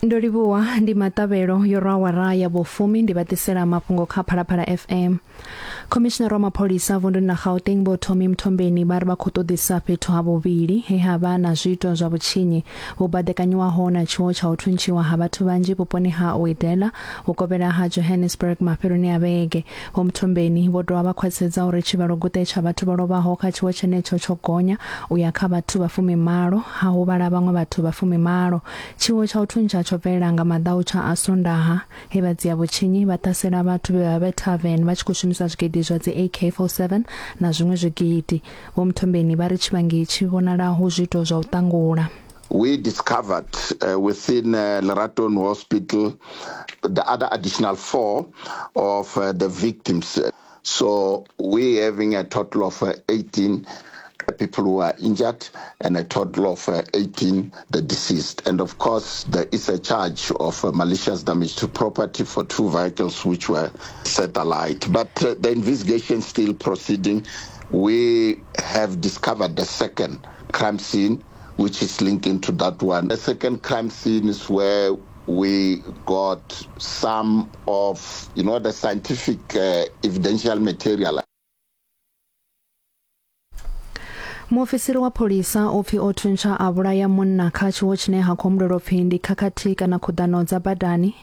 Ndo livhuwa ndi maṱavhelo yo rwa awara ya vhufumi ndi vha ḓisela mafhungo kha Phalaphala FM. Khomishinari wa mapholisa vunduni ḽa Gauteng Vho Tommy Mthombeni vha ri vha khou ṱoḓisa fhethu ha vhuvhili he ha vha na zwiito zwa vhutshinyi vhu baḓekanyiwaho na tshiwo tsha u thuntshiwa ha vhathu vhanzhi vhuponi ha Uedela vhukovhela ha Johannesburg mafheloni a vhege. Vho Mthombeni vho dovha vha khwaṱhisedza uri tshivhalo guṱe tsha vhathu vho lovhaho kha tshiwo tshenetsho tsho gonya u ya kha vhathu vha fumimalo, ha huvhala vhaṅwe vhathu vha fumimalo. Tshiwo tsha u thuntsha tsho bvelela nga maḓautsha a Sondaha, he vhadzia-vhutshinyi vha ṱhasela vhathu vhe vha vhe tavern vha tshi khou shumisa zwigidi zwa dzi AK-47 na zwiṅwe zwigidi. Vho Mthombeni vha ri tshivhangi tshi vhonala hu zwiito zwa u ṱangula. We discovered uh, within uh, Leratong Hospital the other additional four of uh, the victims. So we having a total of uh, 18 people who are injured and a total of uh, 18 the deceased. And of course, there is a charge of uh, malicious damage to property for two vehicles which were set alight. But uh, the investigation is still proceeding. We have discovered the second crime scene which is linking to that one. The second crime scene is where we got some of, you know, the scientific uh, evidential material. Muofisiri wa pholisa u pfi o thuntsha a vhulaya munna kha tshiwo tshine ha khou humbulelwa upfi ndi khakhathi kana khuḓano dza badani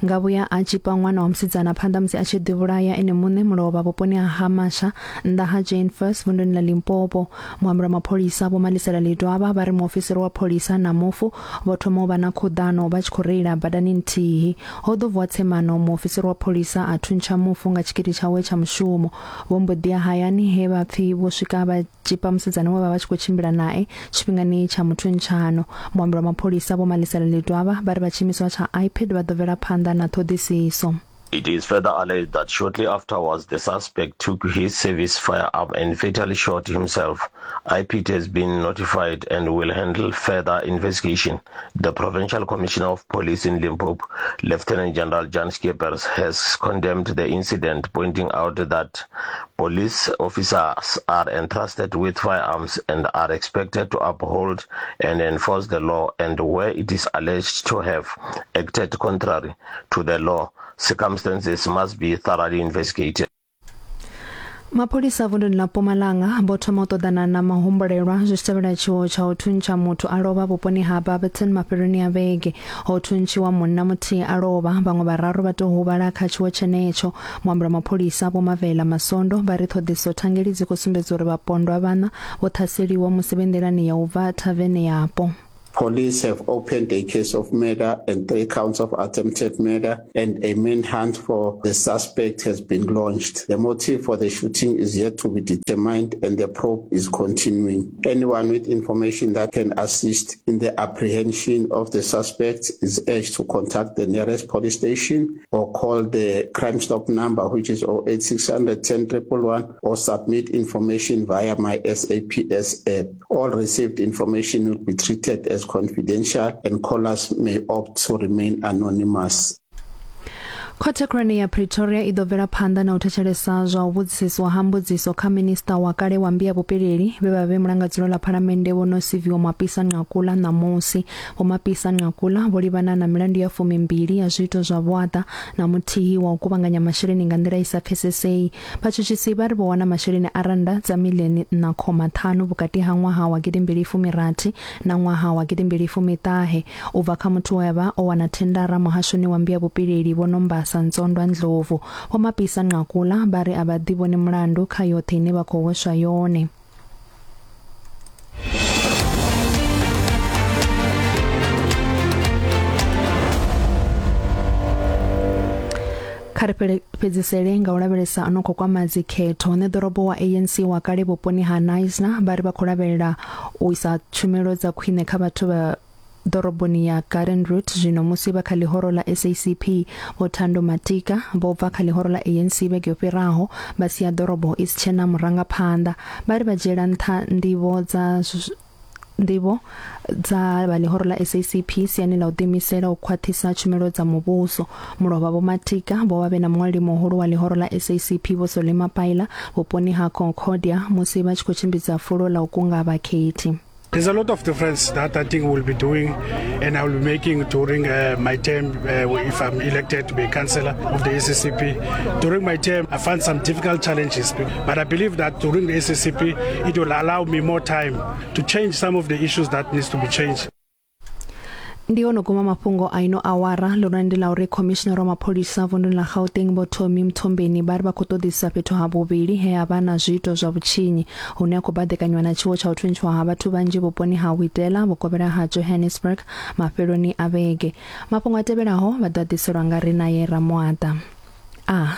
nga vhuya a tshipa ṅwana wa musidzana phanḓa musi a tshi ḓivhulaya ene muṋe mulovha vhuponi ha Hamasha nnḓa ha Jane Furse vunduni ḽa Limpopo. Muambeli wa mapholisa Vho Malisela Ledwaba vha ri muofisiri wa pholisa na mufu vho thoma u vha na khuḓano vha tshi khou reila badani nthihi. Ho ḓo vuwa tsemano muofisiri wa pholisa a thuntsha mufu nga tshikili tshawe tsha mushumo. Vho mbo ḓi ya hayani he vha pfi vho swika vha tzhipa musidzana we vha vha tshi khou tshimbila nae tshifhingani tsha muthuntshano. Muambeli wa mapholisa Vho Malisela Ledwaba vha ri vha tshiimiswa tsha IPID vha ḓo bvela phanḓa na ṱhoḓisiso. It is further alleged that shortly afterwards the suspect took his service firearm and fatally shot himself. IPID has been notified and will handle further investigation. The Provincial Commissioner of Police in Limpopo, Lieutenant General Jan Schippers, has condemned the incident, pointing out that police officers are entrusted with firearms and are expected to uphold and enforce the law, and where it is alleged to have acted contrary to the law, circumstances must be thoroughly investigated. Mapholisa vunduni ḽa Mpumalanga vho thoma u ṱoḓana na mahumbulelwa zwi tshi tevhela tshiwo tsha u thuntsha muthu a lovha vhuponi ha Barberton mafheloni a vhege. Ho thuntshiwa munna muthihi a lovha, vhaṅwe vhararu vha tou huvhala kha tshiwo tshenetsho. Muambeli wa mapholisa Vho Mavela Masondo vha ri ṱhoḓisiso thangeli dzi khou sumbedza uri vhapondwa vhaṋa vho ṱhaseliwa musi vhe nḓilani ya u bva thavene yapo. Police have opened a case of murder and three counts of attempted murder, and a manhunt for the suspect has been launched. The motive for the shooting is yet to be determined, and the probe is continuing. Anyone with information that can assist in the apprehension of the suspect is urged to contact the nearest police station or call the Crime Stop number, which is 08600 10 111, or submit information via my SAPS app. All received information will be treated as confidential and callers may opt to remain anonymous. Khothe khulwane ya Pretoria i ḓo bvela phanḓa na u thetshelesa zwa u vhudzisiswa ha mbudziso kha minista wa kale wa mmbi ya vhupileli vhe vha vhe mulangadzulo ḽa phalamennde Vho Nosiviwe Mapisa Nqakula ṋamusi. Vho Mapisa Nqakula vho livhana na milandu ya fumimbili ya zwiito zwa vhuaḓa na muthihi wa u kuvhanganya masheleni nga nḓila i sa pfesesei. Vhatshutshisi vha ri vho wana masheleni a rannda dza miḽioni nṋa khoma ṱhanu vhukati ha ṅwaha wa gidimbili fumi rathi na ṅwaha wa gidimbili fumi ṱahe u bva kha muthu we a vha o wana thendara muhashoni wa mmbi ya vhupileli Vho Nombasa Ntsondwa Ndlovu. Vho Mapisa Nqakula vha ri a vha ḓivhoni mulandu kha yoṱhe ine vha khou hweswa yone. Kha ri fhedzisele nga u lavhelesa ano khou kwama dzikhetho. Ṋeḓorobo wa ANC wa kale vhuponi ha Knysna vha ri vha khou lavhelela u isa tshumelo dza khwine kha vhathu vha ḓoroboni ya Garden Route zwino musi vha kha ḽihoro ḽa SACP. Vho Thando Matika vho bva kha ḽihoro ḽa ANC vhege yo fhiraho vha sia ḓorobo i si tshena murangaphanḓa. Vha ri vha dzhiela nṱha ndivho dza ndivho dza vha ḽihoro ḽa SACP siani ḽa u ḓiimisela u khwaṱhisa tshumelo dza muvhuso. Mulovha Vho Matika vho vha vhe na muṅwaleli muhulu wa ḽihoro ḽa SACP Vho Solly Mapaila vhuponi ha Concordia musi vha tshi khou tshimbidza fulo ḽa u kunga vhakhethi. There's a lot of difference that I think we'll be doing and I will be making during my term if I'm elected to be a councillor of the SACP. During my term, I found some difficult challenges, but I believe that during the SACP, it will allow me more time to change some of the issues that needs to be changed. Ndi ono guma mafhungo a ino awara ḽone ndi ḽa uri khomishinara wa mapholisa vunduni ḽa Gauteng Vho Tommy Mthombeni vha ri vha khou ṱoḓisa fhethu ha vhuvhili he ha vha na zwiito zwa vhutshinyi hune ha khou baḓekanywa na tshiwo tsha u thuntshiwa ha vhathu vhanzhi vhuponi ha Witela vhukovhela ha Johannesburg mafheloni a vhege. Mafhungo a tevhelaho vha ḓo a ḓiselwa nga Rinaye Ramoata. A.